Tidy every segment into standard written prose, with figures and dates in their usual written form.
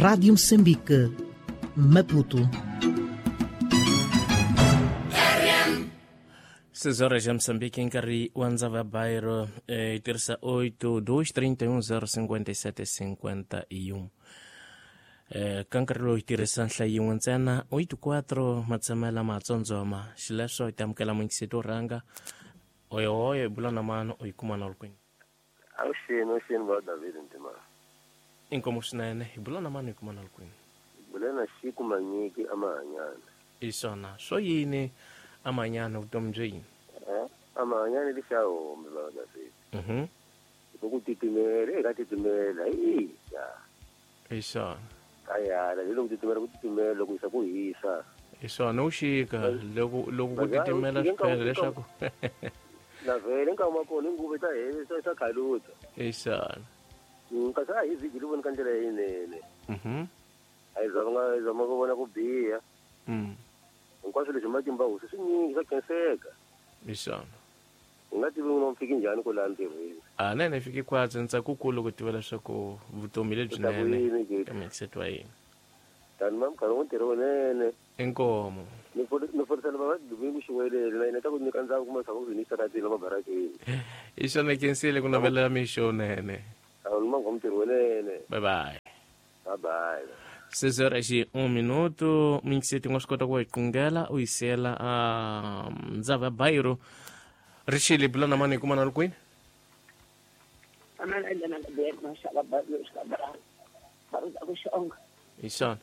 Rádio Moçambique, Maputo. 6 horas ya Moçambique, nkarhi wa ndzava bairo yi tirhisa 823105751. Ka nkarhi lowu yi tirhisa nhlayo yin'we ntsena 84 matshamela matsondzoma xileswo hi ta amukela munyikiseti wo rhanga oyohoyo hi bula na mano u yi kuma na ri kwini. Avuxeni, avuxeni va David Ntima. Inkomu swinene hi bula na mano hi kuma na ri kwini. Bula na Xiku Manyiki Amahanyana. Hi swona swo yini Amahanyana vutomi byo yini? Amahanyana lexahombe va David. Ku titimela eka titimela hi ya. Hi swona. Kayala hi loko titimela ku titimela loko yisa ku hisa. Hi swona u xika loko loko ku titimela swi phela leswaku na vhele nkarhi wa kona nguva ta hisa ta khaluta. Hi swona. Kasi a hi vhiki li voni ka ndlela leyinene. A hi zama ku vona ku biha. Hinkwaswo leswi matimba hosi swi nyingi swa khenseka. Hi swona. U nga tivi n'wina fiki njhani ku laha ntirhweni. A nene fiki khwatsi ntsakukulu ku tiva leswaku vutomi lebyinene ka mindset wa yini. Tani ma mukharhi wo ntirho wunene. Inkomo. Ni forisela va Domingo Xiwelele na yena ta ku nyika ndzhaku kuma leswaku ku yinisa ratini mabarakeni. Hi swona khensile ku navelela mixo wunene. A ni mangwa ntirho wunene. Bye bye. Bye bye. 6 horas e 1 minuto, mingiseti nga swi kota ku yi qungela u yi siyela a ndzava ya bairo. Rixile bula na mani kuma na ri kwini? Hi swona. Hi swona.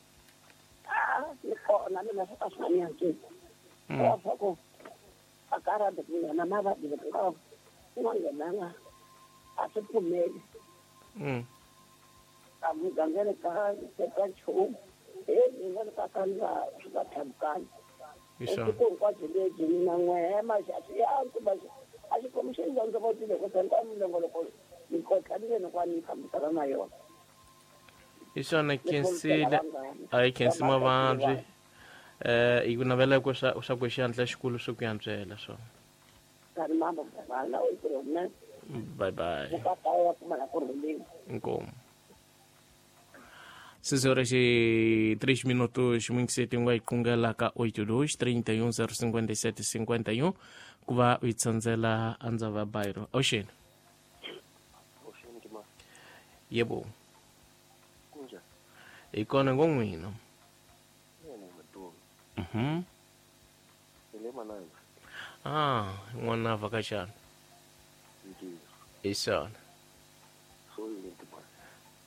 Hi swona khensile a yi khensi mavabyi hi ku navela ku swa ku xandla xikulu swi ku yantswela swona. Bye bye. Inkomu. 6 horas e 3 minutos, muingiseti nga yi qungela ka 82 31 057 51 ku va u yi tsandzela andzava bairo. Avuxeni. Avuxeni Ntima. Yebo. Kunjani? Hi kona ngo n'wina. Mina Madume. Hi le Mananga. Ah, n'wana a vhakachana. Ntiyo. Hi swona. Swo yini Ntima?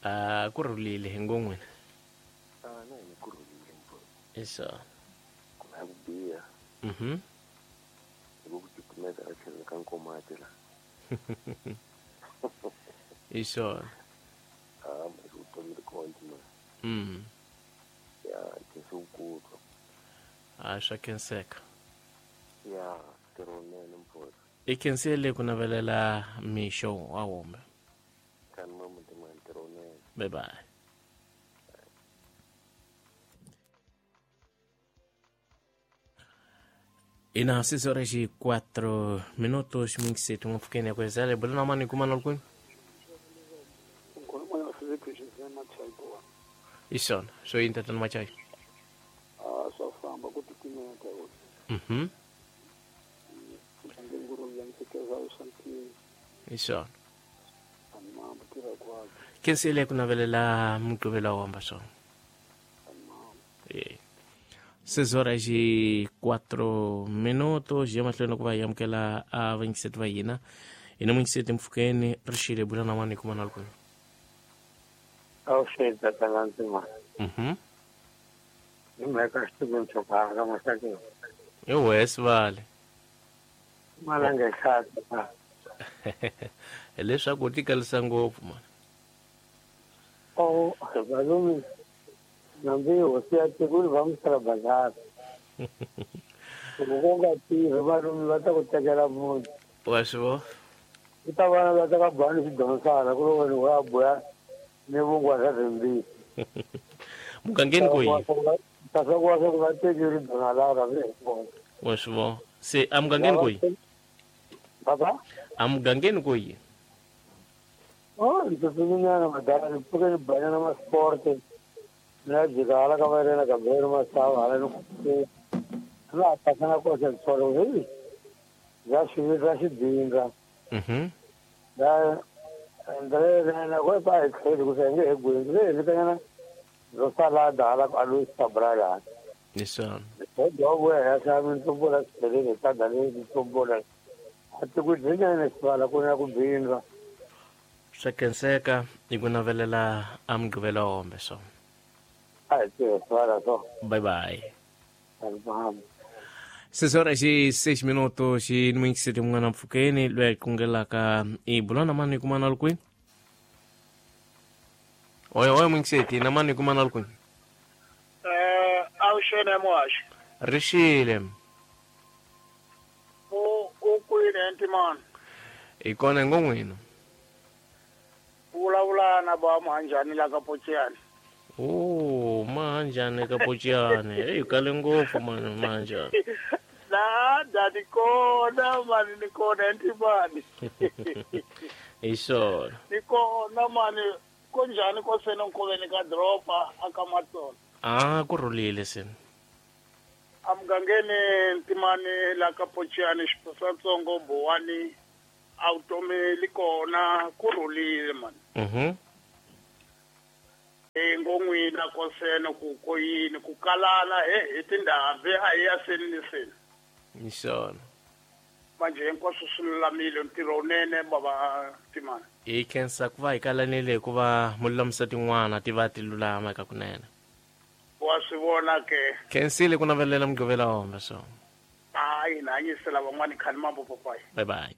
A ku rhulile hi ngo n'wina. A na hina ku rhulile mfo. Hi swona. Ku na ku biha. Hi ku titimela a tlhelo ka nkomati la. Hi swona. A ma vutomi ri kona Ntima. Ya khensa ku twa. A swa khenseka. Ya ntirho wunene mfo. I khensile ku navelela mixo wa wombe. Tani mama Ntima ntirho wunene. Bye bye. E na 6 horas e 4 minutos, mingiseti ngopfukeni ya kwezele bula na mani kuma na kwini. Hi swona swo yini tatana Machai? A swa famba ku titimela ka wena. Hi swona. Khensile ku navelela mugqivela wo hamba swona. 6 horas e 4 minutos, ya mahlweni ku va hi amukela a vayingiseti va hina. Hina muyingiseti mpfhukeni rixile bula na mani kuma na ri kwini. Avuxeni tatana Ntima. Hi mhaka xituku xo masakeni. Hi wes vale. Malanga xata. Hileswaku u tikalisa ngopfu mani. Oh, valume nambi hosi ya tiko va misala bazar. Loko ku nga tirhi valume va ta ku tekela munhu. Wa swi vona? Ku ta vana va ta ka bani xidonsana ku ri wena u ya buya ni vungwa swa rimbisi. Mugangeni ku yini? Kasi ku va swa ku va teki ri dona la ra Wa swi vona? Se a mugangeni ku yini? Baba? A mugangeni ku yini? Oh, ndzi pfuke ni banyana ma sport. Mina jika hala ka vairena Gabriel Masawa hala ni ku la pasana kosa tsolo hi ya xivindza xidinga ya ndre na go pa ekheli ku senge he gwini le vitanyana ro salada hala a Luis Cabral Nisana do go ya sa min tombola tsele ta dale tombola ati ku dlinya ne sibala ku na ku bindza swa khenseka hi ku navelela a Mugqivela hombe so a hi sibala so bye bye. 6 horas e 6 minutos e no índice mun'wana mpfhukeni loyi a kungelaka i bula na mani kumana li kwini oyo oyo mwingiseti na mani kumana li kwini awuxene muhaxi rixile u kwini entimani hi kona ngo n'wina vulavula na ba Mahanjani la ka Pochiyani. Oh, Mahanjani ka Pochiyani. Hey, kale ngopfu mani Mahanjani. Na da ni kona mani ni kona entimani. Hi swona. Ni kona mani kunjhani ko sena nkoveni ka doroba aka Matsolo. Ah, ku rhulile sena. Amugangeni ntimani la ka Pochiyani xiposatsongo Bowani a vutomi li kona ku rhulile mani. Ngo n'wina kosene ku ko yini ku kalana he hi tindhambi a hi ya seni ni seni. Hi swona. Manje hinkwaswo swi lulamile ntirho wunene bava timani. Hi khensa ku va hi kalanile hikuva mu lulamisa tin'wana ti va ti lulama eka kunene. Wa swi vona ke. Khensile ku navelela Mugqivela hombe so. Hayi na hanyisela van'wani khani mambo papayi. Bye bye.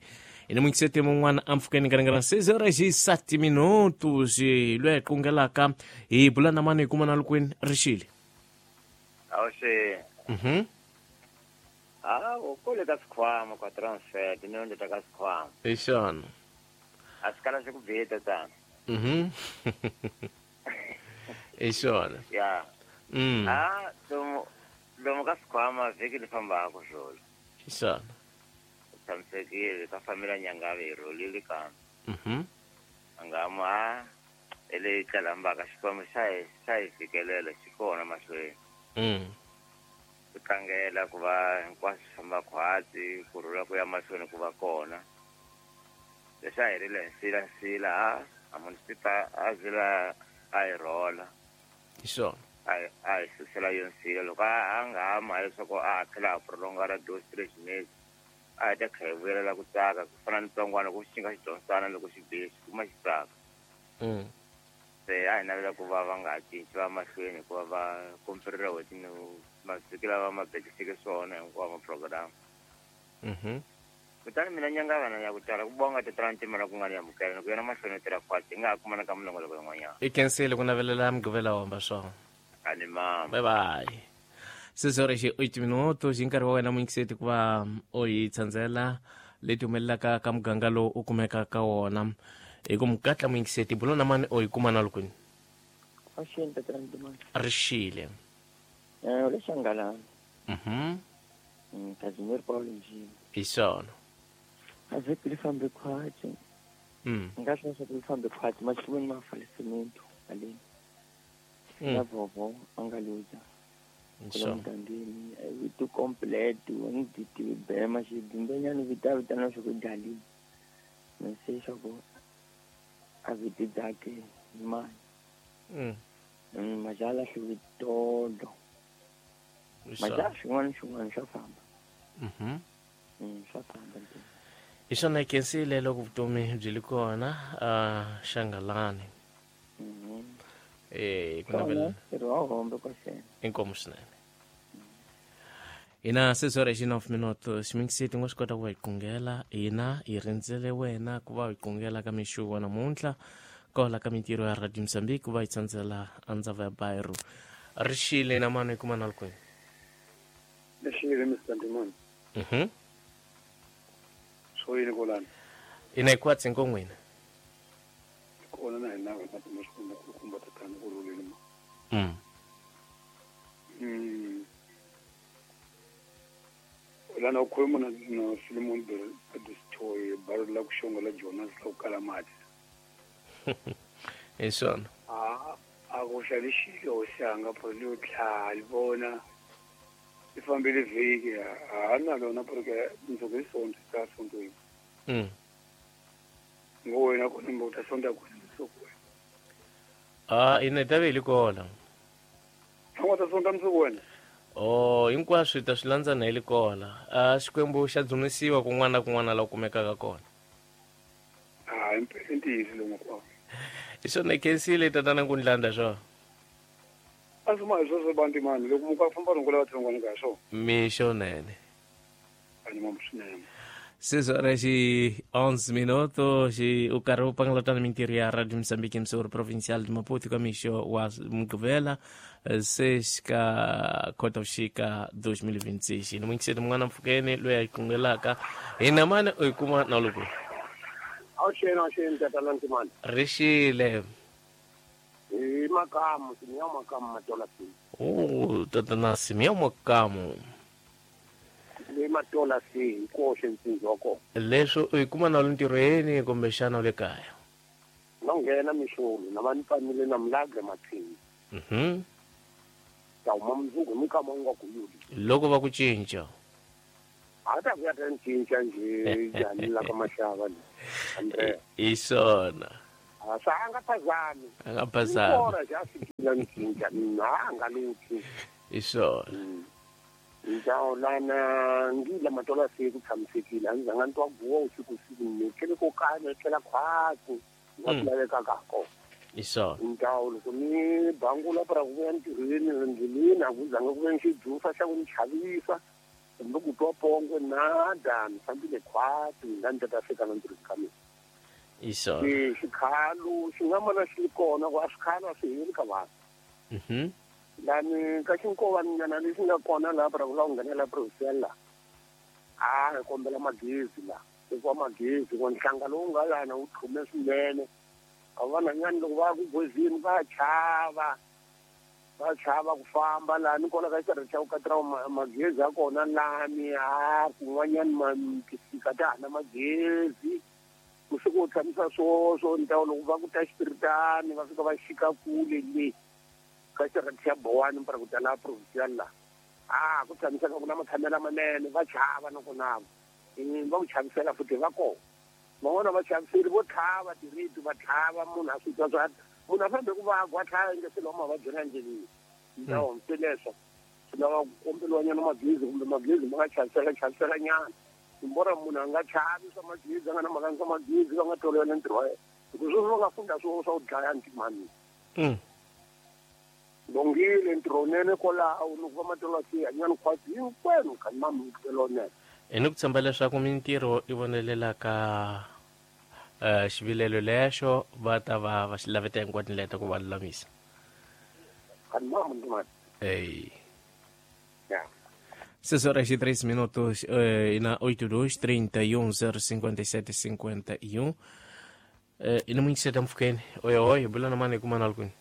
E no mun'wana ampfhukeni ka ringana 6 horas e 7 minutos loyi a hi kungelaka hi bula na mani hi kuma na lukwini rixile. Awuxe. Ah, u kule ka sikhwama kwa transfer tinondlo ta ka sikhwama. Hi xona. A swi kala swi ku bita tana. Hi xona. Ya. Ah, lomu ka sikhwama vhiki li fambaka swolo. Hi xona. Tshamisekile ka famila Nyangave hi rhulile kambe. Angama a ele tlalambaka xikwembu xa hi fikelela xi kona mahlweni. Ku tlangela ku va hinkwaswo swi famba khwatsi ku rhula ku ya mahlweni ku va kona. Leswi a hi rile hi nsila a munisita a zila a hi rhola. Hi swona. A hi susela yo nsila loko a nga ha mali leswaku a tlhela a prolongara dose treatment. A hi ta kha hi vuyelela ku tsaka ku fana ni tsongwana ku xi nga xi dyondzana loko xi bihe xi kuma xi tsaka. Se a hi navela ku va va nga ha cinci va mahlweni hikuva va komperile n'hweti ni mavhiki lava ma bekiseke swona hinkwawo ma-program. Kutani mina Nyangavana ya ku tala ku bonga tatana Ntimela ku nga ni amukela ni ku yena mahlweni tirha khwatsi hi nga ha kumana ka minongoloko yin'wanyana. I khensile ku navelela Mugqivela hombe swona. A ni mama. Bye bye. 6 horas e 8 minutos hi nkarhi wa wena muyingiseti ku va u hi tsandzela leti humelelaka ka muganga lowu u kumekaka ka wona hi ku mukatla muyingiseti bulo na mani u hi kuma na lukwini. Awuxeni tatana Ntimani. Rixile. Le Xangalana. Casimir Paulo Njini. Hi swona. A vhiki li fambe khwatsi. Nga swi leswaku li fambe khwatsi maxikwembu ma falisemento haleni. Na vovo a nga luza. Kula mugangeni vito complete ngiditi bema xidimbenyana vita vitana swa ku dali. Mese swa ku a viti dzake mani. Majala xivitolo. Majala xin'wana xin'wana swa famba. Swa famba. Hi swona hi khensile loko vutomi byi li kona Xangalani. Ku navela ntirho wa hombe kwasena. Inkomu swinene. Hina 6 horas e 9 minutos ximikiseti ngo swi kota ku va hi kungela hina hi rindzele wena ku va hi kungela ka mixo wa namuntlha kola ka mintirho ya Radio Mozambique ku va hi tsandzela andzava ya Bairro. Rixile na mani hi kuma na lukwini. Rixile Mr. Ntimani. Swo yini kolani? Ina hi khwatsi ngo n'wina. Kona na hina va ta xikwembu ku kumba tatana ku rhulile ma. Lana u khuluma na Philemon Bedistoi baro la ku xonga la Jonas la ku kala mati. Hi swona. A Ku xalixile hosi yanga pho li tlha li vona li fambile vhiki ha na lona porque mundzuku hi sonto ta sontweni. Ngo wena kona mbo ta sonta kona mundzuku wena. Ah, ina ta ve li kona. A nga ta sonta mundzuku wena? Oh, hinkwaswo hi ta swi landza na hi li kona. A Xikwembu xa dzunisiwa kun'wana na kun'wana la kumekaka kona. Ah, i ntiyiso lowu kwao. Hi swona khensile tatana Nkundlanda swona. A swi ma hi sweswo bantimani loko muka famba rungula vatsongwana ka swona. Mixo nene. A ni mamu swinene. 6 horas e 11 minutos e o carro pangalotana mintirho ya Rádio Moçambique emissora provincial de Maputo com mixo wa Mugqivela 6 ka Khotavuxika 2026. Ni mungiseti mun'wana mpfhukeni loyi a yi kungelaka hina mani u yi kuma na loko. Awuxeni tatana Ntimani. Rixile. Hi makamu, Simeon Makamu Matola C. Oh, tatana Simeon Makamu. Le Matola C hi koxe ntsinzi wa kona. Leswo u yi kuma na le ntirhweni kumbexana u le kaya? No nghena mixolo na va ni pfanile na Milagre Mathini. Ta huma mundzuku hi mikama wu nga kuyuli. Loko va ku cinca. A ta ku ya ta ni cinca njhe njhani la ka maxava ni. Andrea. Hi swona. A sa a nga phazami. A nga phazami. Kona xa fikile ni cinca mina a nga lutli. Hi swona. Ntawo lana ngila Matola C ku tshamisekile a ndzi zanga ni twa guwa usiku siku ni tlele ko kaya tlhela khwatsi nga swi lavekaka kona. Hi swona. Ntawo loko ni bangula para ku vuya ntirhweni ndleleni a ku zanga ku ve ni xijufa xa ku ni chavisa kumbe ku twa pongo nada ni fambile khwatsi la ni ta fika na ntirhweni ka mina. Hi swona. Xikhalo xi nga mana xi ri kona ku a swikhalo a swi heli ka vanhu. Lani ka xinkovanyana lexi nga kona laha para ku la ku nghenela provincial la a hi kombela magezi la hikuva magezi ku nhlanga lowu nga lana wu tlhume swinene a vanhanyani loko va ya ku gozini va chava ku famba lani kona ka xitarata xa ku katira magezi ya kona lani a kun'wanyani tisika ta ha na magezi kusuka u tshamisa swoswo ntawo loko va ku ta xipiritani va fika va xika kule le ka xitarata xa Bowani para ku ta laha provincial la a ku tshamiseka ku na matshamelo manene va chava nakona va ku chavisela futhi va kona van'wana va chaviseli vo tlhava tirito va tlhava munhu a swi twa swa munhu a fambe ku vagwa a tlhava inge swilo mavabyi na ndleleni ntawo se leswo swi lava ku kombeliwanyana magezi kumbe magezi ma nga chavisela nyana mbora munhu a nga chavi swa magezi a nga na mhaka swa magezi va nga tolovela ntirho wa yena hikuva sweswi va nga funda swo swa ku dlaya ntimani. Longile ntirho wunene kwalaho ni ku va Matola C hanyani khwatsi hinkwenu ka mamukelo nene. Hi ni ku tshemba leswaku mintirho i vonelelaka xivilelo lexo va ta va va xi laveta hinkwato tindlela ta ku va lulamisa. Ei. 6 horas e 13 minutos na 82 31 057 51. Ina mungiseta mpfhukeni. Oi oi bula na mani kuma na lukuni.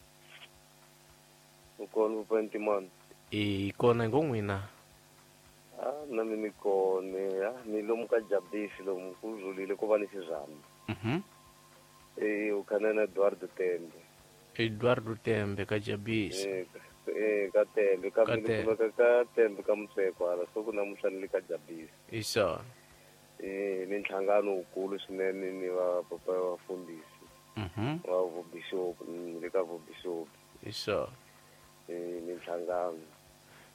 Kona Ntimani. I kona ngo n'wina. Ah, na mina ni kona ni lomu ka Jabisi lomu ku zulile ku va ni xizambi. U khana na Eduardo Tembe. Eduardo Tembe ka Jabisi. Ka Tembe ka mina ka Tembe ka Mutseko hala so ku namuntlha ni le ka Jabisi. Hi swona. Ni nhlangano wukulu swinene ni va papa wa vafundhisi. Wa vubishopu ni le ka vubishopu. Hi swona. Ni nhlangano.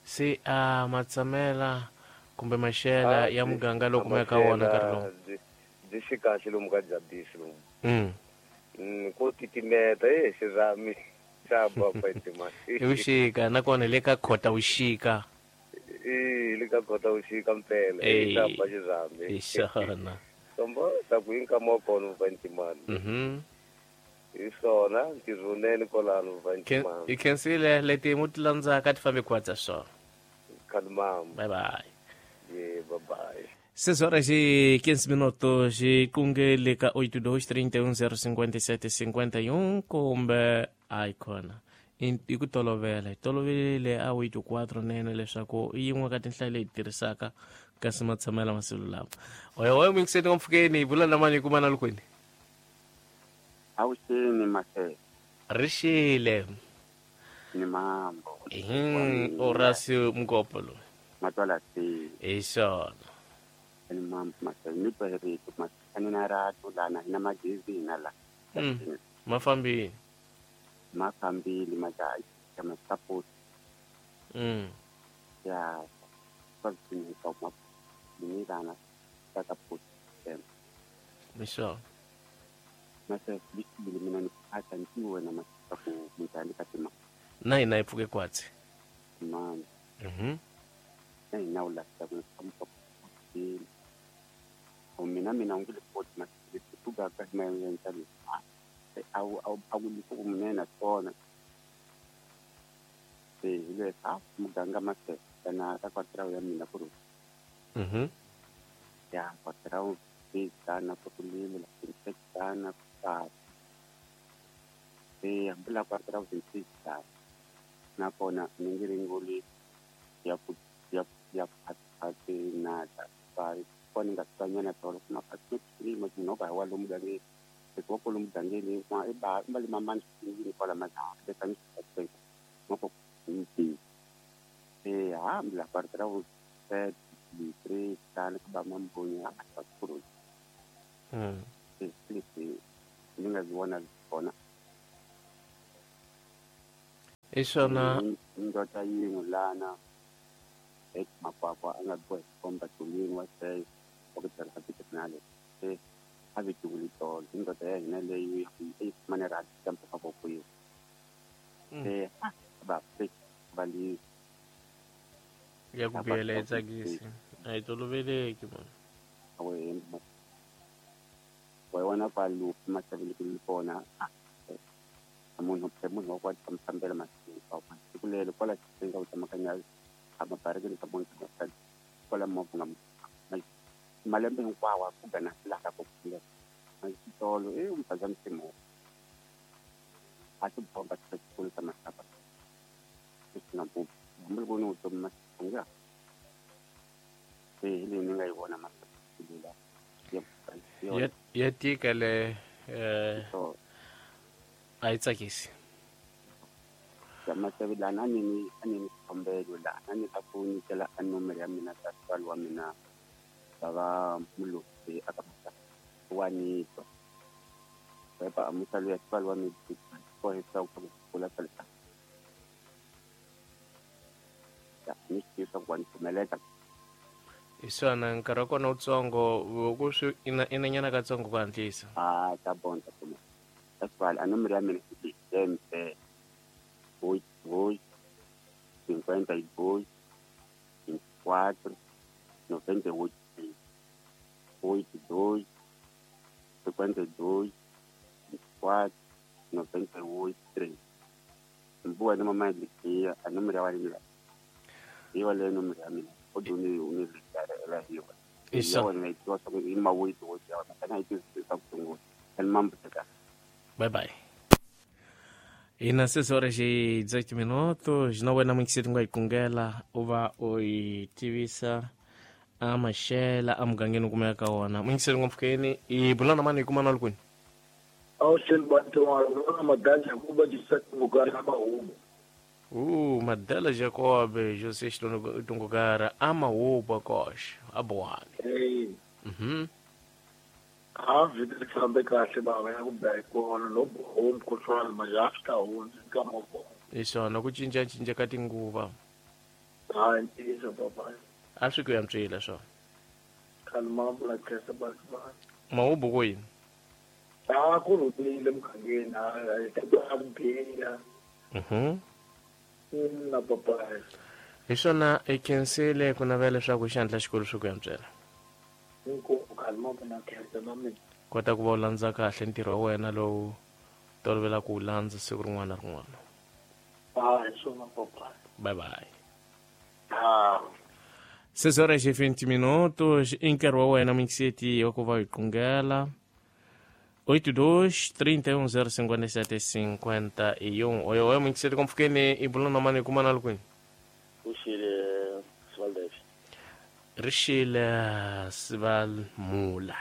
Se a matshamela kumbe maxela ya muganga loko ma ka wona nkarhi lowu. Byi xi kahle lomu ka Jabisi lomu. Ko titimeta xirhami xa bapa Ntimani. I vuxika nakona le ka Khotavuxika. Le ka Khotavuxika mpela xa ba xirhami. Hi swona. Sombo ta ku hinkama wa kona va Ntimani. Hi swona ntirho wunene kwalano va Ntimani. Hi khensile leti mu ti landzaka ti fambe khwatsa swona. Khalimam. Bye bye. Yeah, bye bye. 6 horas e 15 minutos e kungele ka 82 31 057 51 kumbe icon. I ku tolovela hi toloverile a 84 nene leswaku i yin'we ka tinhlayo leyi tirhisaka kasi matshamela masiku lama. Oyo oyo mingiseni mpfhukeni bula na mani kuma na lukwini. Awuxeni Mahele. Rixile. Ni mambo. Horacio Mgopolo. Matwala si. Isona. Ni mambo masani pere masani na rato lana na magezi na la. Mafambi. Mafambi majaji kama support. Ya kwa kwa ni dana support. Misho. Masa bikibili mina ni hata ntiwe na masa ku mutali katima. Na inaipuke kwatsi. Man. Na inaula sabu kampo. Mina mina ngile port masa tuga ka mayentali. Au au au lipo munena tona. Se ile sa muganga masa na ta kwatra ya mina kuru. Ya kwatra sana kukulima la sana kwa e ambula kwa trauti na kona ningiringuli ya ya ya pati na pa koni ngatanya na tolo kuma pati ni mo no ba wa lumgange ko ko lumgange ni kwa e ba mbali mama ni kwa la maza de kan mo ko ni e ambula kwa trauti tre sana ba mambo ya kuru. Ningaziona zikona. Isona ndoda yingu lana makwakwa angabuwa komba tulini wase okutala habitnale habitulito ndoda yena leyi manera tampa kabokuyo ba bali ya kubiyela itsakisi ayitoloveleki mona wena kwalu masabili kulipona munhu munhu wa kwa mfambela masiku kulele kwala tsinga utamakanya amabareke ka munhu kwala mavunga malembe hinkwawo ku gana laha ka ku masitolo e umpaza msimo a ti bomba tsikulu ta masaba sina bu mbulu no to masunga e le ni nga yi vona masabila ya tika le a yi tsakisi ya masabila na ni ani kombelo la ani ta ku nyikela a nomero ya mina ta tswalo wa mina baba mulusi aka wa nito pepa amusalo ya tswalo wa mina ko hesa ku kula tsala ya ni swi kwa ntumeleta isona nkarhi wa kona wutsongo ku swi inanyana katsongo ku hatlisa a ta bonta kuma that's a nomero ya mina i mp 8 2 52 24 98 82 52 24 98 3 mbuwa ni mama likia a nomero ya wa mina hiyo le nomero ya mina oduni univikara hiyo isa bye bye ina 6 horas e 18 minutos na wena munkiseti nga ikungela uva u tivisa a maxela a mugangeni kumeka ka wona munkiseti ngopfukeni i bulana mani hi kumana lukwini Madela Jacob José Tungugara amahuba kosh abuhani. A vida que fambe kahle baba ya kubeka no home control majafta hunzi ka moko. Isona ku cinca cinca ka tinguva. Ha ntiyiso baba. A swi ku yantswile swo. Kalma bula kesa baba. Mahubu ku yini? A ku rhulile mugangeni a ta ku biya. Na papa. Hi swona i khensile ku navela leswaku xandla xikolo swi ku yantswela. Kota ku va u landza kahle ntirho wa wena lowu tolovelaka ku wu landza siku rin'wana na rin'wana. Bye bye. 6 horas e 20 minutos i nkarhi wa wena mixeti wa ku va hi qungela 82 31 057 51. Oyo oyo mixeti kompfukeni i bula na mani kuma na lukwini. Uxile Svaldev. Rixile Svalmula.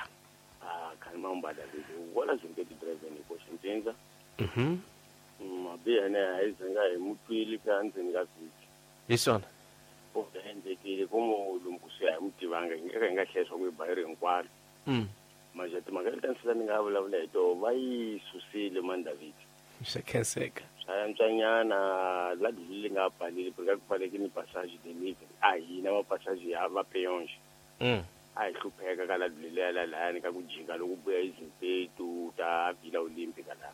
Ah, kalma mbada wala zimbe di driver ni ko shinzenza. Mabe Ene a yi zanga hi mutwile ka ndzeni ka vhiki. Hi swona. U endlekile ku mu lomu kusuhi a hi mu tivanga hi nga hi nga hlaya swa ku hi bayiro hinkwaro. Manje timhaka leti ni ni nga vulavula hi toho va yi susile man David. Swa khenseka. Swa antswanyana la dlulile nga pfaleli ku pfaleke ni passage de livre a hina va passage ya va peyonge. A hi hlupheka ka la dlulile la lahayani ka ku jika loko buya izimpetu ta Villa Olympic la.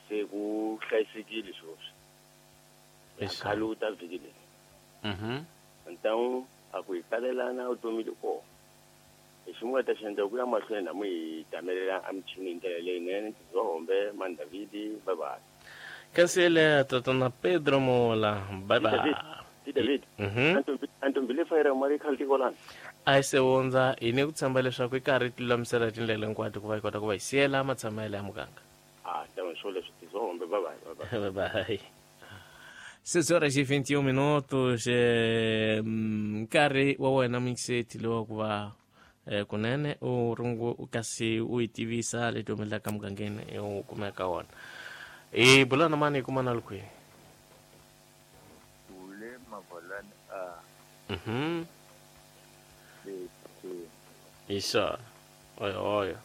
Se ku hlayisekile sweswi. Khale ta vhiki leyi. Então a ku hi kalelana vutomi loko hi xin'wana ta xi ku ya mahlweni na mu hi tamelela emichini hi ndlela leyinene tizombe man David bye bye. Cancela tatana Pedro Mola bye bye. David. Antombile fayira mali khale tikolana. A yi se hundza hi ni ku tshemba leswaku yi karhi yi tilulamisela tindlela hinkwato ku va yi kota ku va yi siyela matshamelo ya muganga. Então swo leswi tizombe bye bye. Bye bye. 6 horas e 21 minutos. Nkarhi wa wena mixeti lowa ku va kunene u rungu kasi u yi tivisa leti humelelaka mugangeni u kumeka wona. Hi bula na mani hi kuma na kwihi? Ule Mavalani a. Isa. Oyo oyo.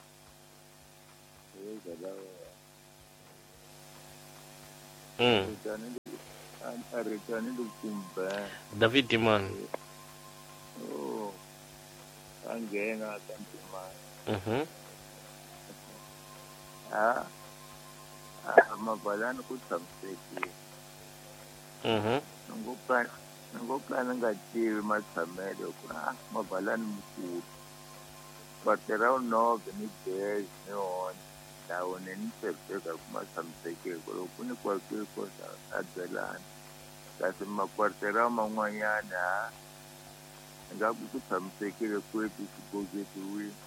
David man. Oh. Angena kantima. Mavalani ku tshamisekile. Ngoka nga tivi matshamelo ku Mavalani mukulu. Quarterão 9 ni 10 ni 11 lawo ni tshembeka ku ma tshamisekile loko ku ni kwakiko a byelana. Kasi makwarterão man'wanyana nga ku tshamisekile kweti xibokisiwile.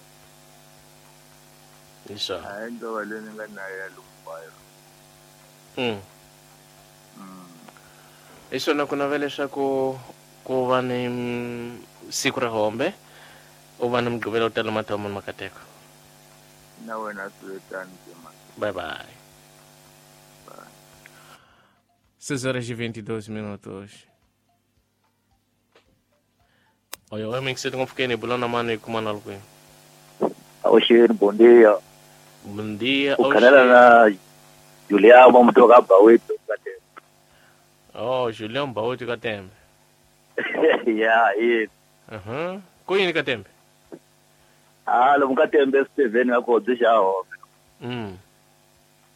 Isa. A ndova leyi ni nga na ya lumbayo. Hi swona ku navela leswaku ku va ni siku ra hombe u va ni mugqivela u tala mathomo ni makateko. Na wena swi tani. Bye bye. Bye. 6 horas e 22 minutos. Oyo, oi, que você tem um bulana mano e kuma na lukwini. Oxeni, bom dia. Bom dia. O canela na Julião, vamos tocar Bauito Katembe. Oh, Julião Bauito Katembe. Yeah, yeah. Kuyini Katembe? Lomu Katembe Steven ngakho xa hombe.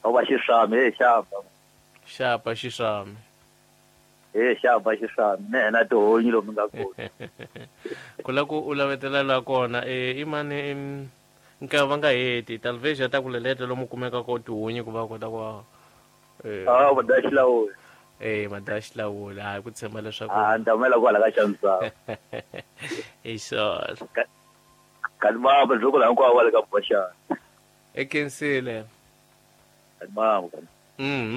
Oba xisami, xapa. Xapa xisami. Xapa xisami, ne na tihonyi lomu nga kona. Ku la ku u lavetela la kona i mani nkarhi va nga heti talvez ya ta ku leleta lomu kumeka ko tihunyi ku va kota ku madaxilawula. Madaxilawula hayi ku tshemba leswaku ni ta humela kwala ka xamisava. Hi swona. Kanti mama loko la hinkwavo va le ka boxana. E khensile. Kanti mama.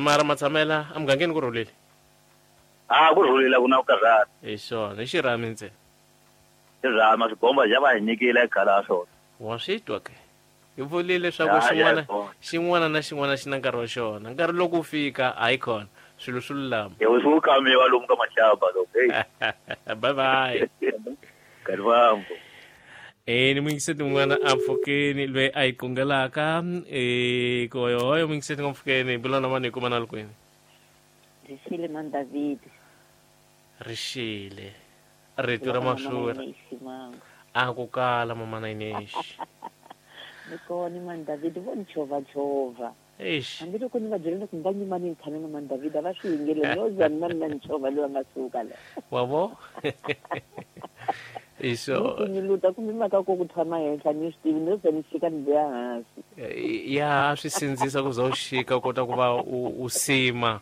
Mara matshamela emugangeni ku rhulile. Ku rhulile ku na ku karhata. Hi swona, i xirhami ntsena. Xirhami swigomba xa va hi nyikile khale swona. Wa swi twa ke? Hi vulile leswaku xin'wana xin'wana na xin'wana xi na nkarhi wa xona. Nkarhi loko wu fika hayi khona swilo swi lulama. Swi wu kamiwa lomu ka maxaba loko. Bye bye. Nkarhi wa ni muyingiseti mun'wana a pfukeni loyi a yi qungelaka koyohoyo muyingiseti nga pfukeni bula na mani hi kuma na lukwini. Rixile man David. Rixile. Rito ra mafurha. A ku kala mama na Inês. Ni kona man David vo ni chovachova. Eish. Hambi loko ni va byela ku nga nyimani ni tshame na man David a va swi yingeli no za mina ni na ni chova loyi a nga suka la. Wa vo? Iso. Ni luta kumbe mhaka ku tshama henhla ni swi tivi no za ni xika ni vuya hansi. Ya swi sindzisa ku za u xika u kota ku va u sima.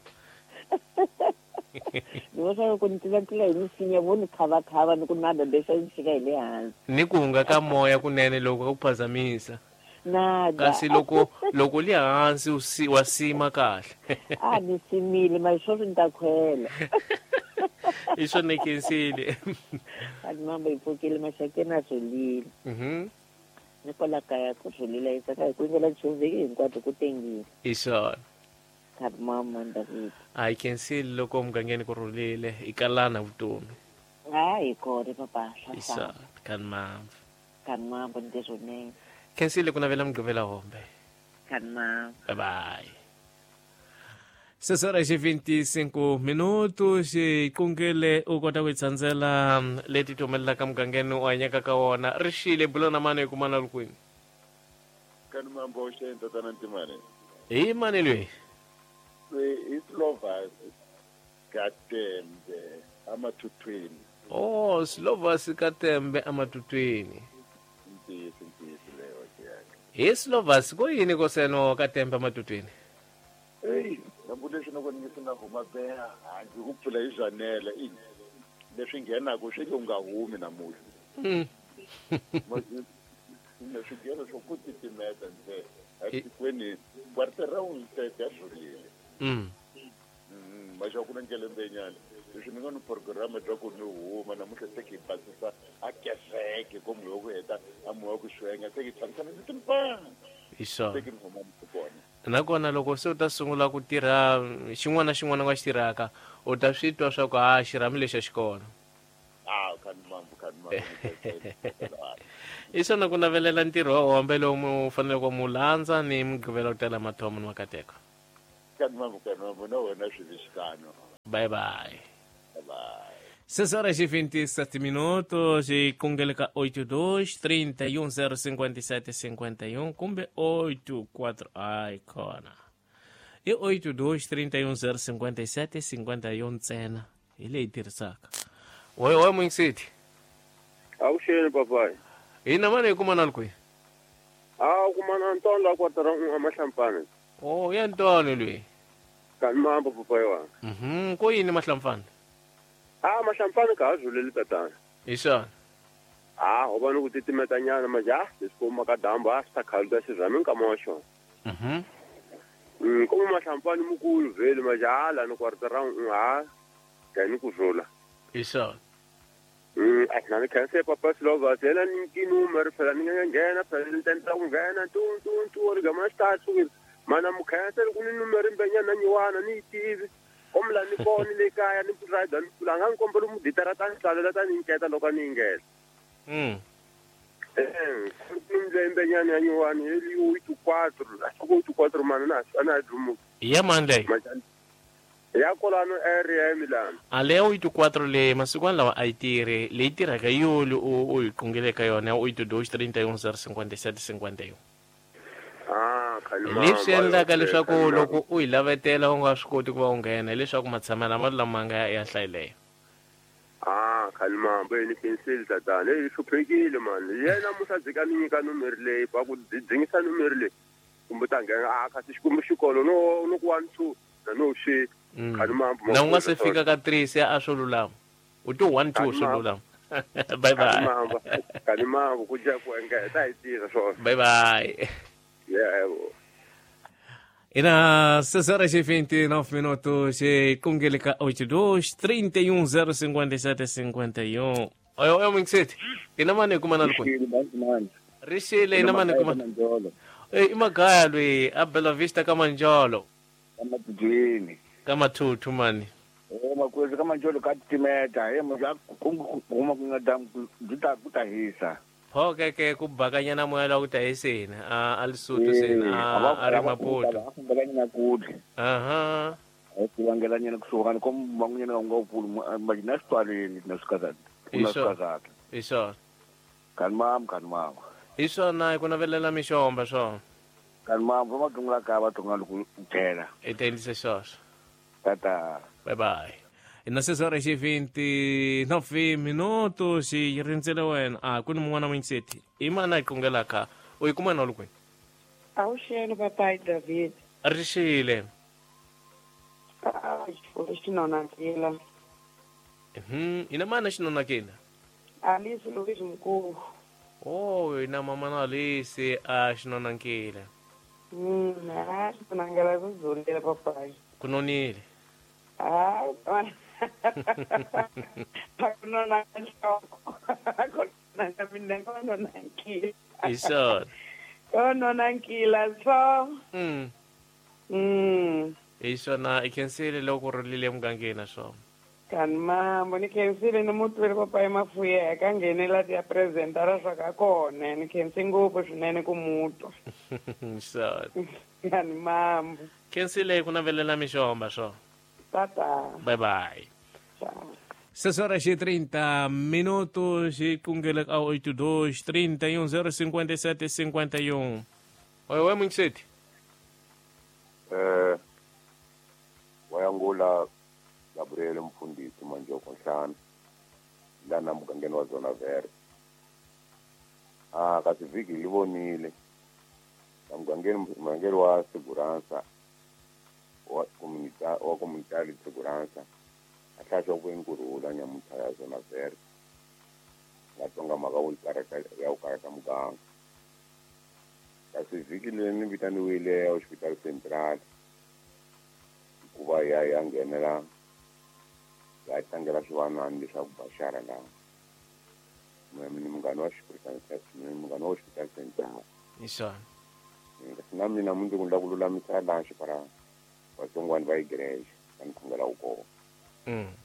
Ni vona loko ni tlula hi misinya vo ni khavakhava ni ku nada lexa ni xika hi le hansi. Ni ku hunga ka moya kunene loko ka ku phazamisa. Nada. Kasi loko li hansi wa sima kahle. Ni simile mara sweswi ni ta khwela. I swona khensile. Ani mamba yi pfukile maxakeni a rhulile. Ni kwala kaya ku rhulile hi tsaka hi ku yingela chovheki hinkwato ku tengile. I swona. Kani David. A hi khensile loko mugangeni ku rhulile i kalana vutomi. Hayi kona papa. Isa kani mambo. Kani mambo ndizonene. Khensile ku navela mugqivela hombe. Kani mambo. Bye bye. 6 horas e 25 minutos xikungele u kota ku tsandzela leti ti humelelaka mugangeni u hanyaka ka wona ri xile bulo na mani hi kumana ri kwini. Kani mambo xeni tatana Ntimane. Hi mani loyi? I Slovas Katembe amathuthwini. Oh, Slovas Katembe amathuthwini. Ntiyiso leyo yaka. Hi Slovas ko yini ko seno Katembe amathuthwini? Hey, nambulexe loko ni nge se na huma beha handle ku pfula hi zwanele i leswi nghenaka swi nge u nga humi namuntlha. Leswi nghena swo ku titimeta ntsena etikweni kwartera wu tete ya rhulile. Maxa ku na nkelembenyana leswi ni nga ni programa bya ku ni huma namuntlha se ki basisa a kereke ko moya ku heta a moya ku xwenga se ki tshamisana ni timpana. Hi swona. Se ki ni huma ni kona. Nakona loko se u ta sungula ku tirha xin'wana na xin'wana nga xi tirhaka u ta swi twa swa ku ha xirhami lexi a xi kona. Kani mambo kani mambo. I swona ku navelela ntirho wa hombe lowu mu faneleke ku mu landza ni mugqivela ku tala mathomo ni makateko. Kani mambo kani mambo na wena swi vixikano. Bye bye. Bye bye. 6 horas e 27 minutos e kungeleka 82 31 057 51 kumbe 84 ai kona. E 82 31 057 51 ntsena hi leyi tirhisaka. Oi oi Muingsiti. Avuxeni papai. Hina mani hi kumana ri kwihi? A kumana Ntoni la kwatara a Mahlampfana. Oh, ya Ntoni loyi. Kani mambo papai wa. Ko yini Mahlampfana? A Mahlampfana ka ha zuleli tatana. Hi swona. A ho va ni ku titimetanyana maja leswi ku maka dyambu a swi ta khaluta xirhami nkama wa xona. Komo Mahlampfana mukulu vheli maja hala ni kwartara ha ni ku rhula. Hi swona. A na ni khense papa Slovas yena ni nkinuma ri phela ni nga nghena phela ni tendla ku nghena tu tu tu ri gama xi sukile mana mukhense ku ni numeri mbenyana nyiwana ni yi tivi komla ni kona le kaya ni ride ni pfula nga ni kombela muditara ta ni tsalela ta ni nketa loko ni nghena. Mbenyana ya nyiwana hi 84 84 mana na ana dlumu ya mani leyi ya kolano area ya Milan. A leyo 84 le masiku lawa a yi tirhi leyi tirhaka yoli u yi qungeleka yona 82 31 057 51. Leswi endlaka leswaku loko u yi lavetela u nga swi koti ku va u nghena hileswaku matshamelo ma lama nga ya hlayileyo. Khalimambo ni penseli tatana leyi hluphekile mani yena musadzika ni nyika numeri leyi va ku dzingisa numeri leyi kumbe ta nghena kasi xikwembu xikolo no ku 1 2 na no xi Khalimambo na u nga se fika ka 3 se a swo lulama u to 1 2 swo lulama. Bye bye. Khalimambo ku dya ku engeta hi tirha swona. Bye bye. Yebo. Ina 6 horas e 29 minutos e kungeleka 82 31 057 51. Oi oi Muingsiti. Ina mani kumana ri Rixile ina mani kumana. I magaya loyi a Bella Vista ka Manjolo. Ka Matujini. Ka Mathuthu mani. Makwezi ka Manjolo ka titimeta he muja ku huma ku nga damu byi ta ku ta hisa. Pho ke ku bakanyana moya la ku ta hiseni a Lesotho seni a ri Maputo. A fambelanyana kule. Aha. A ku vangelanyana kusuhani ko van'wanyana va nga pfuli majina switwaleni na swikazana. Na swikazana. Hi swona. Kani mama kani mama. Hi swona ku navelela mixomba swona. Kani mama va matunga ka va tunga loko tlhela. I ta endlisa sweswo. Tata. Bye bye. Na 6 horas e 29 minutos yi rindzele wena a ku ni mun'wana Muingsiti i mani a yi qungelaka u yi kuma na ri kwihi? Avuxeni papai David. Rixile. Xinonakile. Ina mani a xinonakile? Alice Louise Mkulu. Oh, ina mama na Alice a xinonankile. A xinonakile ku zulile papai. Ku nonile. Hi swona. Kononankila so. Hi swona i khensile loko ku rhulile emugangeni swona. Kani mambo ni khensile ni mutwile papayi Mafuyeka nghenela ya presentara swa ka kona ni khensi ngopfu swinene ku mutwa. Swona. Kani mambo. Khensile ku navelela mixomba swona. Tata. Bye bye. Ciao. 6 horas e 30 minutos e kungele ao 82 31 057 51. Oi, oi, muito cedo. Wayangula Gabriel Mfundisi Manjoko Nhlana lana mugangeni wa Zona Verde. Kasi vhiki hi vonile na mugangeni wa Segurança wa comunità di Segurança ahlahla kwenkurhula nyamuntlha ya Zona Verde nga tonga mhaka wo ya ku karhata muganga. Kasi vhiki leri ni vitaniwile Hospital Central hikuva ya nghenela ya tlangela swivanani leswaku baxara laha ni munghana wa munghana wa Hospital Central. Hi swona. Kasi na mina mundzuku ni lava ku lulamisa laha xipara vatsongwana va igrexe va ni khongela wu kona.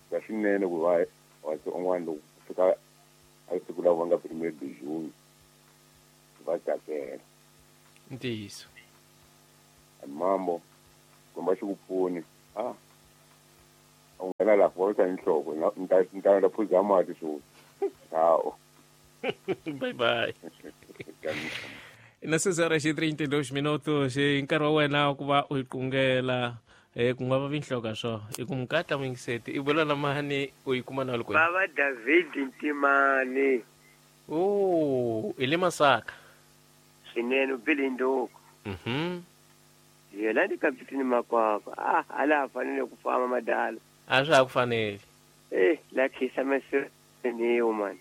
Ka swinene ku va vatsongwana loko ku fika a siku lava va nga premier de juin va tsakela. Ntiyiso. Mambo kumba xi ku pfuni a u nghena laha ku vavisa nhloko ni ta phuza mati sweswi. Ciao. Bye bye. Na 6 horas e 32 minutos hi nkarhi wa wena ku va u yi qungela ku nga vavi nhloko swo i ku mukata mingiseti i vula na mani u yi kuma na loko Baba David Ntimani. Oh, i le Masaka. Swinene u bile nduku. Yena ni kapitini Makwakwa. Ala fanele ku famba madala. A swa ha ku fanele. La khisa meseniwu man.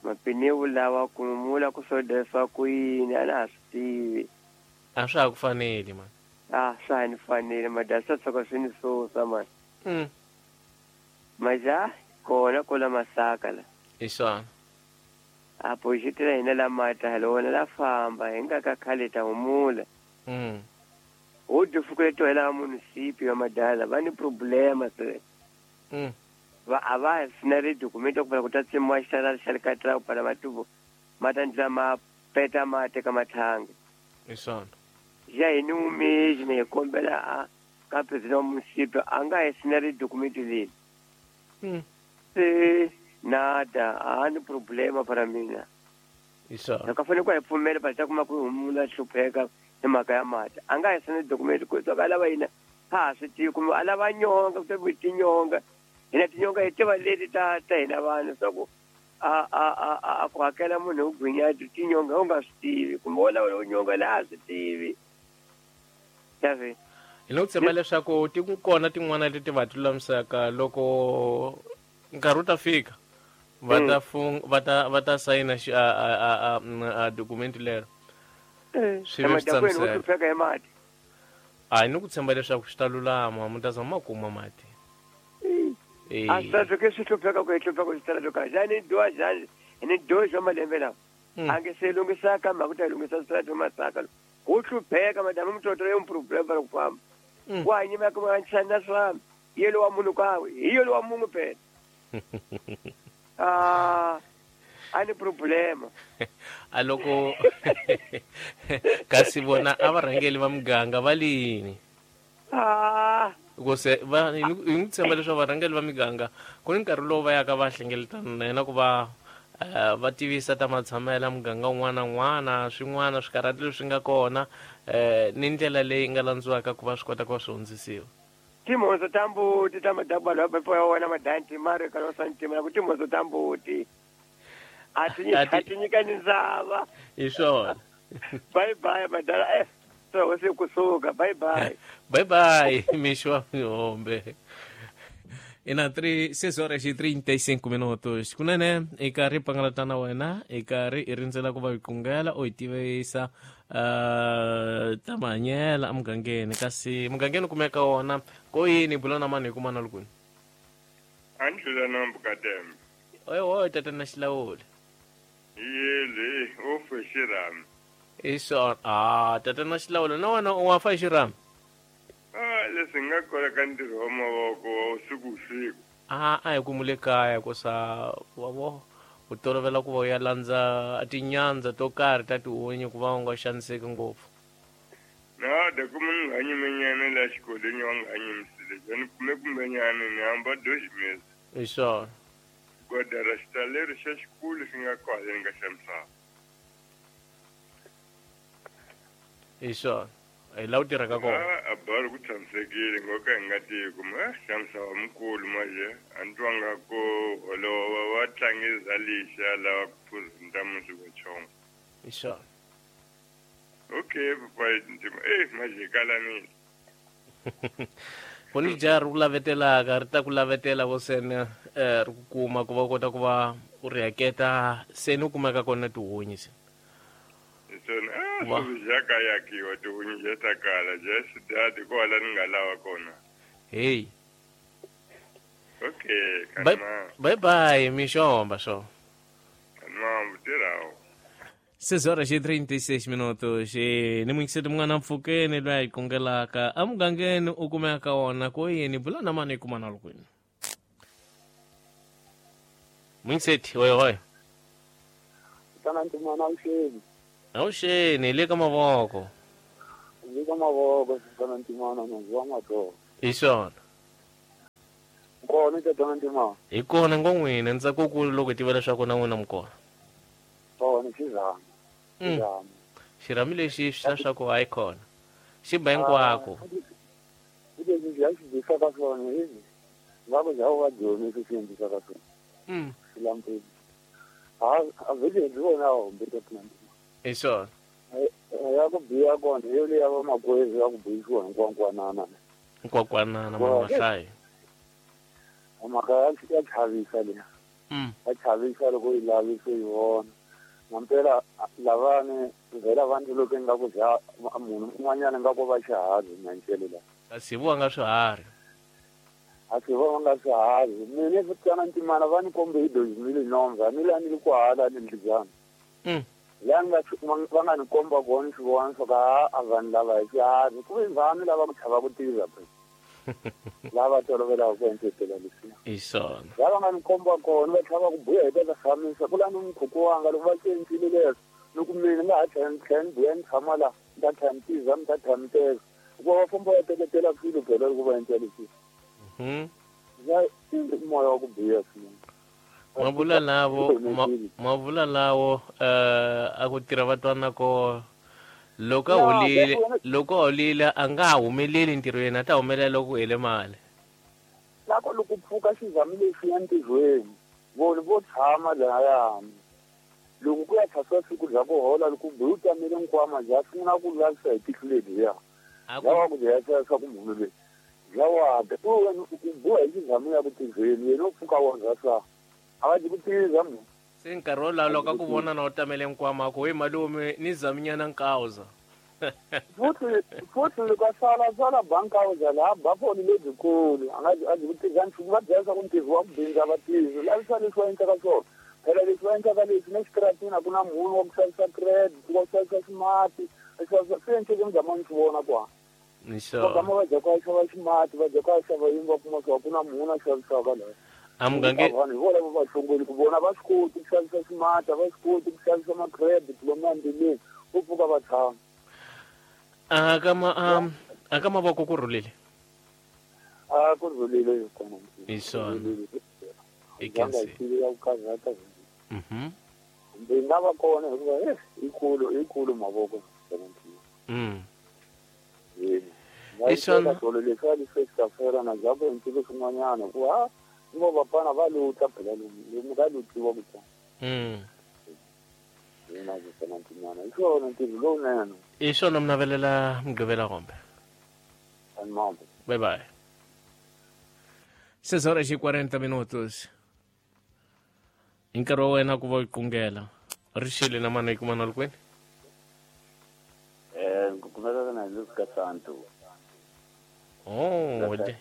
Mapiniwu lawa ku mula ku sodesa ku yini a na ha swi tivi. A swa ha ku fanele man. Swa ha ni fanele madala swa tshoka swi ni susa man. Maja kona kola Masaka la. Hi swona. A poxitela hina la mata lona la famba hi nga ka khale ta humula. Ho difukule to hela municipio ya madala va ni problema se. Va a va sina ri dokumento ku ku ta tsemiwa xitala xa le ka tra ku pala matuvo ma ta ndla ma peta ma teka mathangi. Hi swona. Ya hi ni umezi ni kombela a ka president wa municipio a nga hi sina ri dokumento leri. Se nada a ni problema para mina. Hi swona. Ka fanele ku hi pfumela pa ta kuma ku humula hlupheka hi mhaka ya mati. A nga hi sina dokumento ku tsaka lava yina ha swi tivi kumbe a lava nyonga ku ta ku tinyonga. Hina tinyonga hi tiva leti ta hina vanhu swa ku a ku hakela munhu u gwinya tinyonga u nga swi tivi kumbe wo lava nyonga laha a swi tivi. Xavi. Hi lo tshemba leswaku ti kona tin'wana leti va lulamisaka loko nkarhi wu ta fika va ta va ta sayina a dokumenti lero. Swi va swi tshamiseka. A ni ku tshemba leswaku swi ta lulama mi ta zama ma kuma mati. A swi ta swi hlupheka ku hi hlupheka ku swi ta ka jani dwa jani ni dojo malembe lawa. A nge se lunghisaka mhaka ku ta lunghisa swi Masaka. Ku hlupheka madamu mtoto yo problem va ku famba. Wa nyima ku va nchana swa yelo wa munhu kawe hi yelo wa munhu phela. A ni problema. A loko kasi vona a varhangeli va muganga va lini. Ku se va hi n'wi tshemba leswaku varhangeli va miganga ku ni nkarhi lowu va yaka va hlengeletana na yena ku va va tivisa ta matshamela muganga wun'wana na wun'wana swin'wana swikarhati leswi nga kona ni ndlela leyi nga landziwaka ku va swi kota ku va swi hundzisiwa. Timhondzo ta mbuti ta madabalo ya wena madanti mari ka losa ntima na ku timhondzo ta mbuti a ti nyikani ndzava. Hi swona. Bye bye madala. So se kusuka bye bye. Bye bye mixo hombe. Ina 6 horas e 35 minutos. Kunene i karhi pangalatana wena i karhi i rindzela ku va hi qungela u hi tivisa ta mahanyela emugangeni kasi mugangeni kumeka wona ko yini bula na mani hi kuma na lukuni. Andlela na mbukadem. Oy oy tata na xilawuli. Yele o fe xirami. Hi swona. Tata na xilawuli na wena u wa fa xirami. Leswi nga kona ka ntirho wa mavoko wa usiku usiku. A hi kumule kaya ku sa wa vo u tolovela ku va u ya landza tinyandza to karhi ta tihunyi ku va u nga xaniseki ngopfu. Na da kuma ni nga nyimenyana la xikolweni wa nga nyimisile ni kume kumbenyana ni hamba dojimezi. Hi swona. Goda ra xitaleri xa xikulu xi nga kwale nga xa misava. Hi swona. Hi la u tirhaka kona. A bari ku tshamisekile ngoka hi nga tivi ku xa misava mukulu manje a ni twanga ku holova va tlangisa lixa lava ku phuza musi wa chongo. Hi swona. Okay, papa ntima manje kalanile. Kuni jar ku lavetelaka ri ta ku lavetela vo sene ri ku kuma ku va kota ku va u ri haketa sene u kumeka kona tihunyi se. Sona swi yakiwa tihunyi ta kala just that kwala ni nga lava kona. Hey. Okay, kanma. Bye bye, mixomba so. Kanma mutirawo. 6:36 minutos. Ni muingiseti mun'wana mpfhukeni loyi a hi kungelaka emugangeni u kumeka wona ko yini bula na mani yi kuma na kwini. Muingiseti hoy hoy. Tana ntimana awuxeni. Awuxeni hi le ka mavoko. Le ka mavoko tana ntimana nandzu wa matolo. Hi swona. Kona tana ntimana. Hi kona ngo n'wina ntsako kulu loko hi tiva leswaku na n'wina mi kona. Kona xirhami. Xirhami lexi swi leswaku hayi kona xi ba hinkwako. Leswi ya xi dyisaka swona hivi va ku dya va dyondzisi swi endlisaka swona. Xilampeni a vhele hi vona hombe ta hi swona. Ya ku biha kona yo leya va makwerhu ya ku buyisiwa hinkwankwanana. Hinkwakwanana mahlayi. Mhaka ya chavisa leyi. Ya chavisa loko yi lavisa yi vona. Nampela lavani vhela vanhu loko nga ku dya munhu un'wanyana nga ku va xiharhi nyancele la. Kasi vo nga swiharhi. A si vo nga swiharhi. Mina futana ntimana va ni kombe hi dozimile nomva ni la ni ku hala ni ndlijana. La nga va nga ni komba kona swi vona swa ka a vanhu lava hi swiharhi ku ve vanhu lava ku chava ku tirha phela. Lava tolovela ku endlela leswi. Hi swona. Lava nga ni komba kona va chava ku buya hi ta tshamisa ku la ni mukhuku wanga loko va cincile leswo ni ku mina nga ha tlhela ni buya ni tshama la ni ta tlhela ni tiza ni ta tlhela ni teka hikuva va famba va teketela swilo phela loko va endla leswi. Moya wa ku biha swinene. Mavula lawo a ku tirha va twana ko loko a holile a nga humeleli ntirhweni a ta humelela loko ku hele mali. Loko loko pfuka xizami lexi ya ntirhweni vona vo tshama lahayani loko ku ya thasiwa siku bya ku hola loko bihi u tamele nkwama bya sungula ku lavisa hi tihlo ledyiya lava ku byela swa ku munhu loyi bya wada u buha hi xizami ya ku tirhweni yena u pfuka wa za swa a va dyi ku tirha munhu. Se nkarhi wolowo loko a ku vona na u tamele nkwama ku we malume ni zaminyana nkauza. Futhi loko a sala bankauza laha ba foni lebyikulu a nga a dyi ku tirha nchumu va byela swa ku ntirho wa ku bindza vatirhi lavisa leswi va endlaka swona phela leswi va endlaka leswi na xitaratini a ku na munhu wa ku xavisa credit wa ku xavisa ximati swi endleke mi zama ni swi vona kwala. Va gama va dya ku a xava ximati va dya ku a xava yini va kuma swa ku na munhu a xavisaka laha. Amugange vanhu hi vona va va hlongoli ku vona va swi koti ku xavisa ximati a va swi koti ku xavisa ma-credit lomu endleleni vo pfuka va tshama. A ka mavoko ku rhulile. A ku rhulile kona. Hi swona. I ya ku karhata. Ndzi nga va kona hikuva ikulu mavoko. Hi swona. Leswi a leswi swi na bya ku endlile swin'wanyana ku ha vo vapfana va luta phela lomu ka lutiwa ku ta. Hi swona ntirho lowunene. Hi swona mi navelela Mugqivela kombe. Bye bye. 6:40 minutos. Hi nkarhi wa wena ku va u qungela. Ri xile na mani yi kuma na kwini? Ku kumeka na le ka Santo. Oh, de.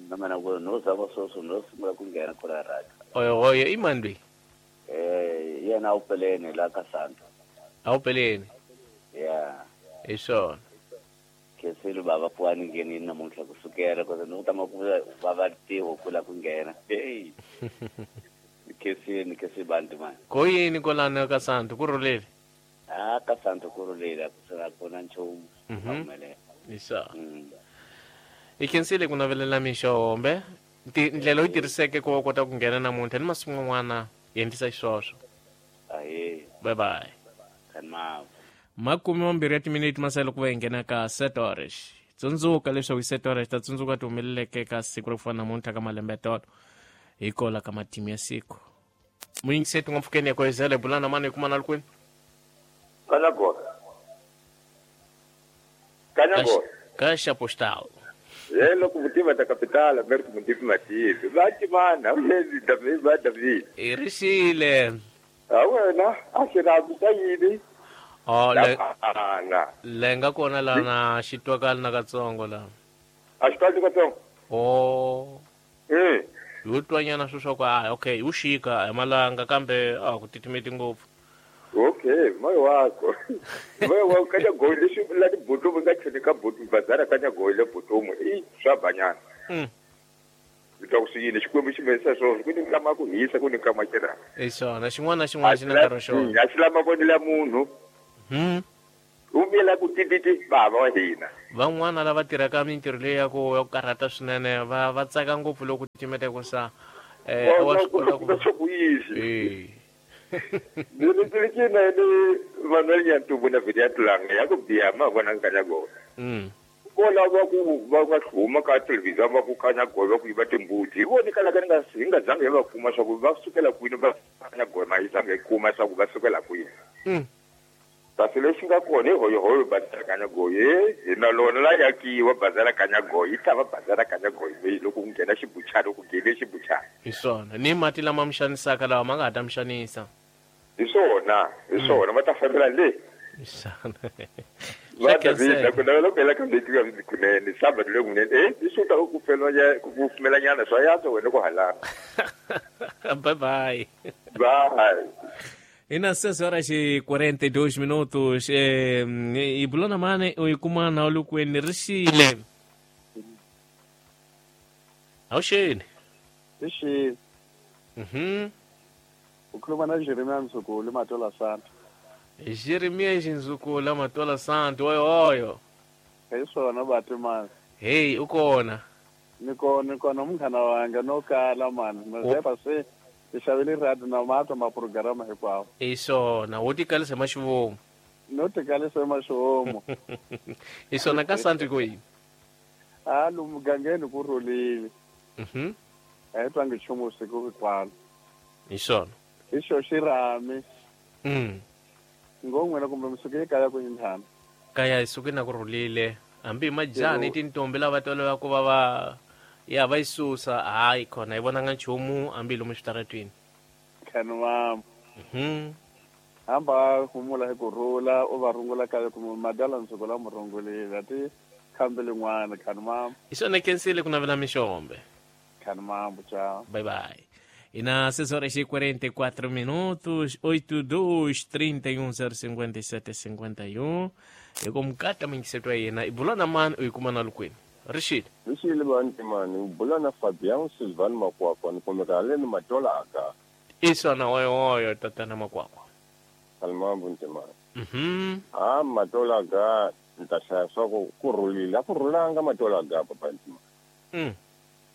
Na mina ku no zama sweswo no sungula ku nghena kula radio. Oyo i mani loyi? Yena a wu peleni la ka Santo. A wu peleni? Yeah. Hi swona. Khensile baba ku ani nghenini namuntlha ku sukela kota ni ku tama ku va va tiho ku la ku nghena. Hey. Khensile ni bantu man. Ko yini kolana ka Santo ku rhulile? Ah ka Santo ku rhulile ku sala kona nchumu. Isa. I khensile ku navelela mixo hombe. Ndlela yi tirhiseke ku va kota ku nghena namuntlha ni masiku man'wana hi endlisa xiswoswo. Ahe. Bye bye. Kanma. 20 ya timinete masele ku va hi nghena ka 7 horas. Tsundzuka leswaku hi 7 horas ta tsundzuka ti humeleleke ka siku ro fana namuntlha ka malembe tolo hi kola ka matimu ya siku. Muyingiseti nga mpfhukeni ya koyizela bulana mani hi kumana likwini? Kanyagora. Kanyagora. Ka Xapostal. Ye loko mutiva ta kapitala Berto Mutivi Mativi. Va timana uyezi David va David. I rixile. A wena a xi rhambi xa yini? Oh, le nga kona lana xi twakali na katsongo la. A xi twakali katsongo? Oh. Hi twanyana swo swa ku ah okay, u xika hi malanga kambe a ku titimeti ngopfu. Okay, moya wako. Moya wako kanya goyi leswi la tibutumu nga chini ka butu bazara kanya goyi le butumu i swa banyana. Bitwa ku swi yini xikwembu xi mesa swona ku ni nkama ku hisa ku ni nkama xira. I swona xin'wana na xin'wana xi na nkarhi wa xona. A xi lama vonela munhu. U miyela ku tititi bava wa hina. Van'wana lava tirhaka mintirho leyi ya ku karhata swinene va tsaka ngopfu loko timete ku sa wa swi kota ku yisi. Ni Manuel Nyantubu na video tulanga ya ku biya ma vona Kanyagora. Kola va ku va nga hluma ka television va ku Kanyagora va ku yiva timbuti. Hi voni kala ka nga hi nga zange va kuma swa ku va sukela kwini va Kanyagora ma hi zange kuma swa ku va sukela kwini. Kasi lexi nga kona hi hoyohoyo bazara Kanyagora hi na lona la yakiwa bazara Kanyagora yi ta va bazara Kanyagora leyi loko ku nghena xibuchana ku nghene xibuchana. Hi swona ni mati lama mi xanisaka lawa ma nga ha ta mi xanisa. Hi swona va ta fambela le. Hi swona. Va David ku navela ku hela ka leti ka kunene sabado le kunene i swi ta ku pfumelanyana swa yantswa wena ku halana. Bye bye. Bye. E na 6 horas e 42 minutos, e bulana mane o ikumana olukweni rixile. Awuxeni. Rixile. Ukhuluma na Jeremiah Nzukulu Matola Santo. Jeremiah Nzukulu Matola Santo oyo oyo. Hi swona batimani. Hey, ukona. Ni kona munghana wanga no kala mani. Mazepa se xavele radio na matwa ma programa hinkwawo. I swona, wo tikalisa maxivomu. No tikalisa maxivomu. I swona ka Santo ko yini? Ah, lomu mugangeni ku rhulile. A hi twangi nchumu siku hinkwalo. Hi swona. Hi xo xirhami. Ngo n'wina kumbe mi suke ekaya ku yinjhani? Kaya hi suke na ku rhulile. Hambi hi majani tintombi lava tolovela ku va va ya va yi susa hayi khona hi vonanga nchumu hambi lomu switaratwini. Khanwam. Hamba humula hi ku rhula u va rungula kaya ku madala nsuku la murungulile ti khambi lin'wana khanwam. Hi swona khensile ku navela mixombe. Khanwam ciao. Bye bye. E na 6 horas e 44 minutos, 82 31 057 51. E como kata mingisetwa yena ibulana mani u yi kuma na lukwini. Rixile. Rixile vanti mani bulana Fabian Silvan Makwakwa ni kumeka le ni Matola aka. I swona oyo oyo tatana Makwakwa. Kalmambu ntimani. Ah Matola ga nta hlaya swa ku rhulile a ku rhulanga Matola ga papa ntimani.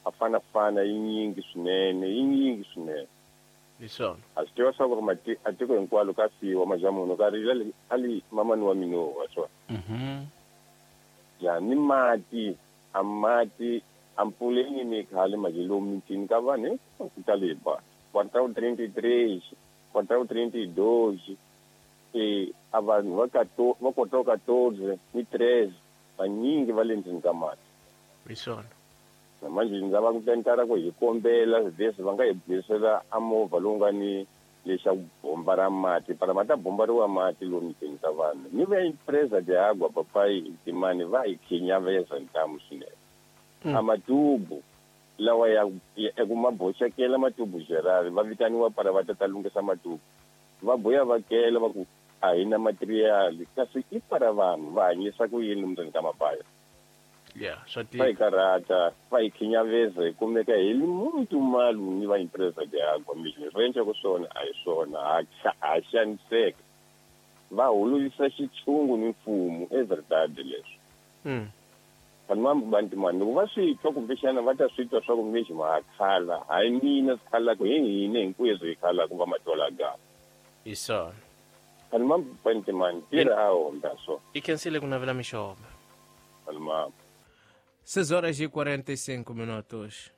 A fana fana yi nyingi swinene yi nyingi swinene. Hi swona. A swi tiva swa ku ri a tiko hinkwalo ka fiwa majamuno ka rila a li mamani wa mina wa swona. Ya ni mati a mati a mpfuleni ni khale majelo mitini ka vanhu ku tale ba. Quartal 33, quartal 32, a vanhu va quartal 14 ni 13 vanyingi va le ndzeni ka mati. Hi swona. Manje ndzi va ku tentara ku hi kombela leswi va nga hi buyisela a movha lowu nga ni lexa ku bomba ra mati para ma ta bombariwa mati lomu mitini ka vanhu ni va empresa de água papai timani va hi khinyaveza ntamu swinene. A matubu lawa ya ku ma boxekela matubu Gerard va vitaniwa para va ta lunghisa matubu va boya va kela va ku a hi na material kasi i para vanhu va hanyisa ku yini ndzeni ka mabaya. Yeah, swa Va hi tika. Karhata, va hi khinyaveza, hi kumeka hi li muntu malu ni va empresa de água mesmo. Leswi va endlaka swona a hi swona, ha xaniseka. Va holovisa xitshungu ni mfumo, é verdade leswi. Vanhu va bantimani loko va swi twa, kumbexana va ta swi twa swa ku mesmo ha khala, hayi mina swi khalaka, hi hina hinkweswo hi khalaka va matwalagama. Hi swona. Vanhu va bantimani tirha a homba so. I khensile ku navela mixomo. Vanhu va 6 horas e 45 minutos.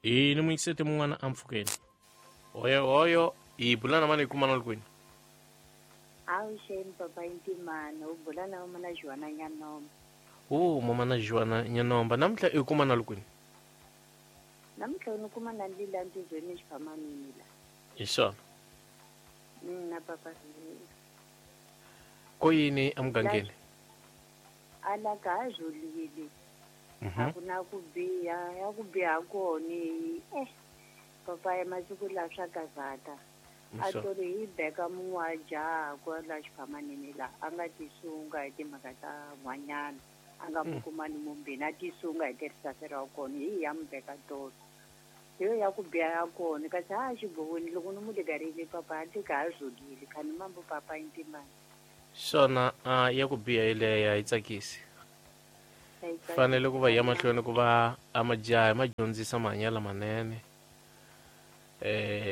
Hi ni muyingiseti mun'wana ampfhukeni. Oyo oyo, hi bula na mani, hi kuma na kwini? Avuxeni papa Ntimana, u bula na mama na Joana Nyanomba. O mama na Joana Nyanomba, namuntlha i kuma na kwini? Namuntlha ni kuma na ndlela ntizweni xiphamanini la. Hi swona. Na papa. Ko yini emugangeni? Ala ka ha zolile. A ku na ku biha, ya ku biha kona papa ya masiku la swa gazata. A tori hi beka mun'we wa jaha kwala xiphamanini la, a nga tisunga hi timhaka ta n'wanyana, a nga mu kumani mumbini, a tisunga hi tirisasi ra kona, hi ya mu beka tolo. Hi yo ya ku biha ya kona, kasi ha xigovweni loko ni mu ligarile papa a tika ha zolile, khani mambo papa Ntimani. Swona ya ku biha yeleyo a yi tsakisi. Fanele ku va ya mahlweni ku va a majaha ma dyondzisa mahanyelo lamanene,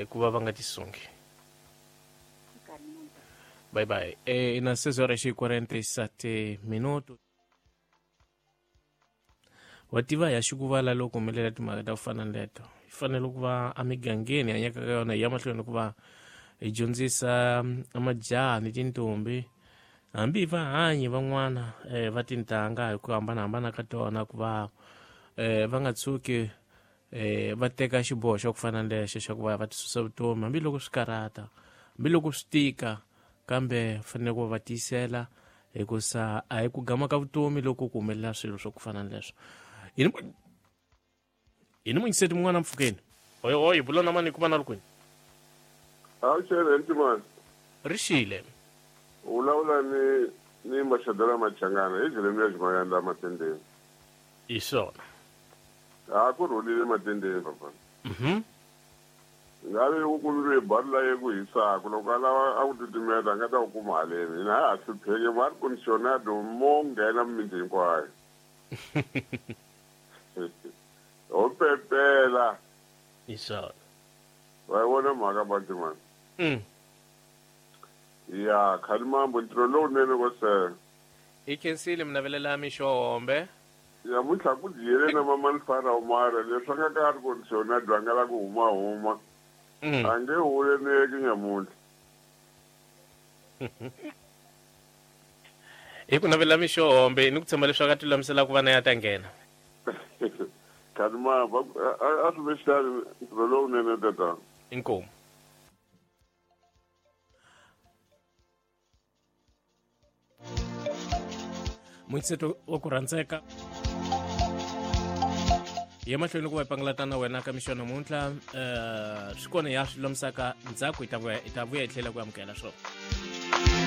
ku va va nga tisungi. Bye bye. Ina 6 horas e 47 minutos. Wa tiva ya xikuvala loko humelela timhaka ta ku fana na leto. Hi fanele ku va emigangeni hi hanyaka ka yona, hi ya mahlweni ku va hi dyondzisa majaha ni tintombi, hambi va hanyi van'wana va tintangha hi ku hambanahambana ka tona, ku va va nga tshuki va teka xiboho xa ku fana na lexo xa ku va va tisusa vutomi, hambiloko swi karhata, hambiloko swi tika, kambe fanele ku va va tiyisela, hikusa a hi ku gama ka vutomi loko ku humelela swilo swa ku fana na leswo. Hi ni muyingiseti mun'wana mpfhukeni. Oyo oyo, bula na mani, kuma na kwini? Avuxeni Ntimani. Ri xile. U vulavula ni Machadela Machangana hi Jeremiah Jimayanda Matendeni. Hi swona. Ha ku rhulile Matendeni papa. Ngabe ku kumile bari la ye ku hisaka, loko a lava a ku titimeta a nga ta ku kuma haleni. Hina ha ha hlupheki, va ri conditionado mo nghena mimiti hinkwayo. Ho pepela. Hi swona. Va yi vona mhaka Bantimani. Ya Khalimambo, ntirho lowunene ko sele. I khensile minavelela mixo hombe. Namuntlha ku dyile na mama Nfana Umara, leswi a nga ka ri conditionado a nga la ku huma huma. A nge huleneki nyamuntlha. Hi ku navela mixo hombe ni ku tshemba leswaku a ti lulamisela ku va na ya ta nghena. Khalimambo, a swi ve xitani, ntirho lowunene tatana. Inkomu. Muyingiseti wa ku rhandzeka, hi ya mahlweni ku va hi pangalata na wena ka mixo namuntlha. Swi kona ya swi lulamisaka ndzhaku, hi ta vuya hi tlhela ku amukela swona.